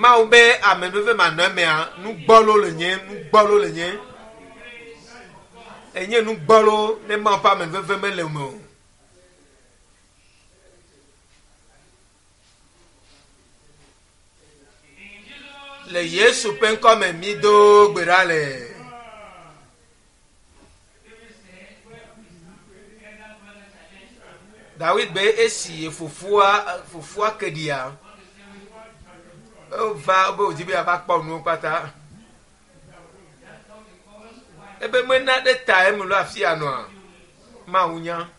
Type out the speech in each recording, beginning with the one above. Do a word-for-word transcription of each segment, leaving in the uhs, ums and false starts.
Mawu be amenuveve manɔ emea nugbɔlo le nye nugbɔlo le nye enye nugbɔlo ne Mawu ƒe amenuveve mele me o. Le Yesu ƒe ŋkɔme mi do gbe ɖa le. Dawid be esi fofoa fofoa ke ɖia eva be wòdi be yeava kpɔ nuwo kpata. Ebe mena ɖe ta eme lo afi ya nɔa Mawu nya.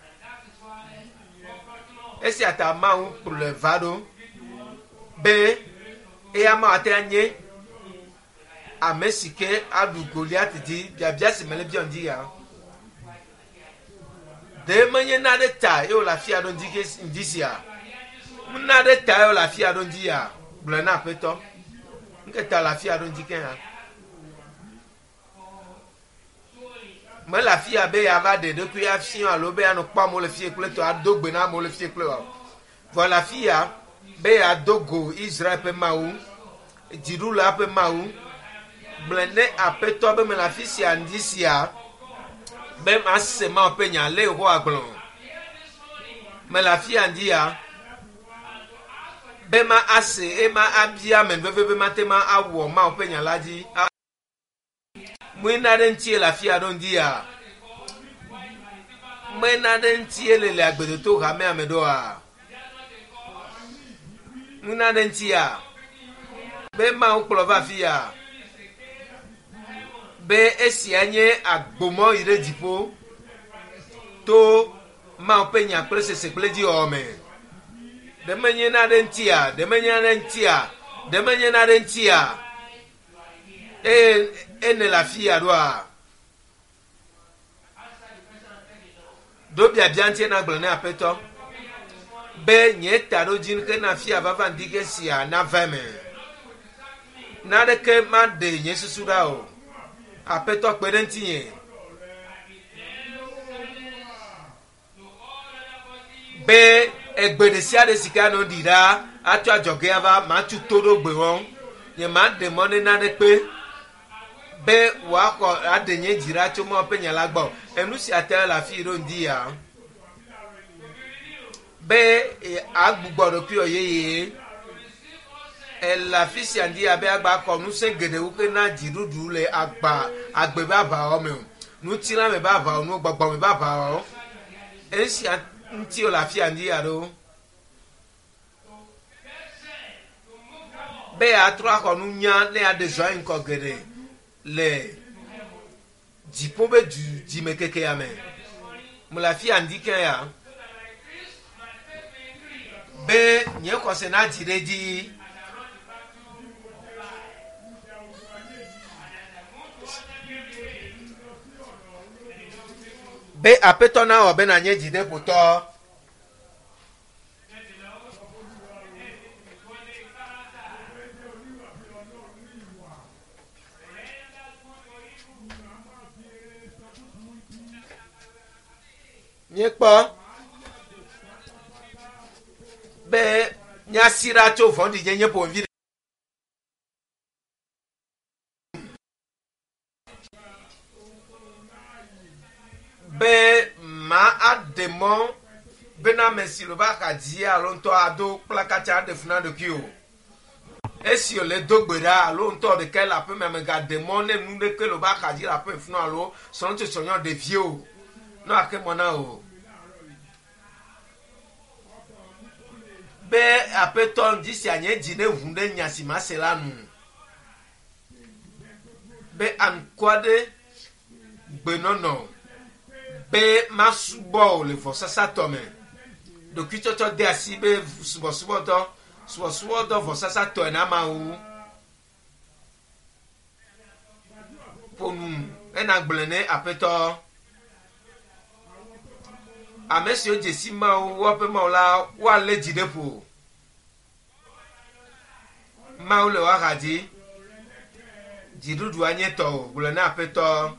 Esia ta Mawu kplɔe va ɖo be eya ma ate anye ame si ke aɖu Goliat dzi biabia si mele biɔ ŋdi ya. Ɖe menye na ɖe ta ye wòle afi ya ɖo ŋdi ke ŋdi sia. Mena ɖe ta ye wòle afi ya ɖo ŋdi ya gblɔe na aƒetɔ. Nke ta le afi ya ɖo ŋdi ke hã. Mele afi ya be yeava ɖe ɖokui afia alo be yeanɔ kpɔ amewo le fie kple tɔ ado gbe na amewo le fie kple o. Vɔ le afi ya be yeado go Israel ƒe Mawu, dziɖula ƒe Mawu. Gblɔe ne aƒetɔ be mele afi sia ŋdi sia be mase Mawu ƒe nya le Yehowa gblɔ. Mele afi ya ŋdi ya be ma ase ema abia amenuveve be mate ma awɔ Mawu ƒe nya la dzi. Mena ɖe ŋuti le afi ya ɖo ŋdi ya. Mena ɖe ŋuti le le agbedoto hamea me ɖoa. Mena ɖe ŋuti ya be Mawu kplɔ va afi ya be esia nye agbomɔ yi ɖe dziƒo to Mawu ƒe nya kple sese kple dziwɔwɔ me. Ɖe menye na ɖe ŋuti ya, ɖe menye na ɖe ŋuti ya, ɖe menye na ɖe ŋuti ya. Eye ene le afi ya ɖoa. Ɖo biabia ŋuti na gblɔ ne aƒetɔ be nye taɖodzinu ke na afi ya vava ŋdi ke sia nava eme. Naneke maɖe nye susu ɖa o. Aƒetɔ kpe ɖe ŋutinye. Be egbe ɖe sia ɖe si ke anɔ ɖi ɖa atso adzɔge ava matu to ɖo gbe wɔm. Nye maɖe mɔ ne naneke be wòaxɔ aɖe nye dzi ɖa tso Mawu ƒe nya la gbɔ. Enu sia ta le afi ɖo ŋdi ya. Be agbugbɔ ɖokuiwò yeye. Ele afi sia ŋdi ya be agba xɔ ŋusẽ geɖewo ke na dziɖuɖu le agba agbe be aʋawɔ me o. Ŋutilã me be aʋawɔ nu, gbɔgbɔ me be aʋawɔ. Esia ŋuti wòle afi ya ŋdi ya ɖo. Be yeatrɔ axɔ nunya ne yeaɖe zɔ ayi ŋgɔ geɖe le dziƒo be du dzime kekea me. Mele afi ya ŋdi ke ya. Be nye xɔse nadzi ɖe edzi. Be aƒetɔ nawɔ be nanye dzideƒotɔ. Míekpɔ be míasi ɖa tso vɔ̃ɖinyenye ƒomevi be ma aɖe mɔ bena ame si le va xa dzi alo ŋutɔ ado kplakatsa aɖe fu na ɖokui o. Esi wòle do gbe ɖa alo ŋutɔ ɖeka le aƒeme megaɖe mɔ ne nu ɖeke le va xa dzi le aƒeme funu alo srɔ̃tsosrɔ̃nyɔ ɖevi o. Ne wòaxe mɔ na o. Be aƒetɔ ŋdi sia nye dzi ne ʋu ɖe nya si mase la nu. Be aŋkɔ aɖe gbenɔnɔ be masubɔ o le vɔsasa tɔ me. Ɖokuitsɔtsɔ de asi be subɔsubɔdɔ, subɔsubɔdɔ vɔsasa tɔe na Mawu. Ƒo nu ena gblɔe ne aƒetɔ. Ame siwo dze si Mawu woaƒe Mawu la woalé dzi ɖe ƒo. Mawu le woaxa dzi. Dziɖuɖu anye tɔwò gblɔe na aƒetɔ.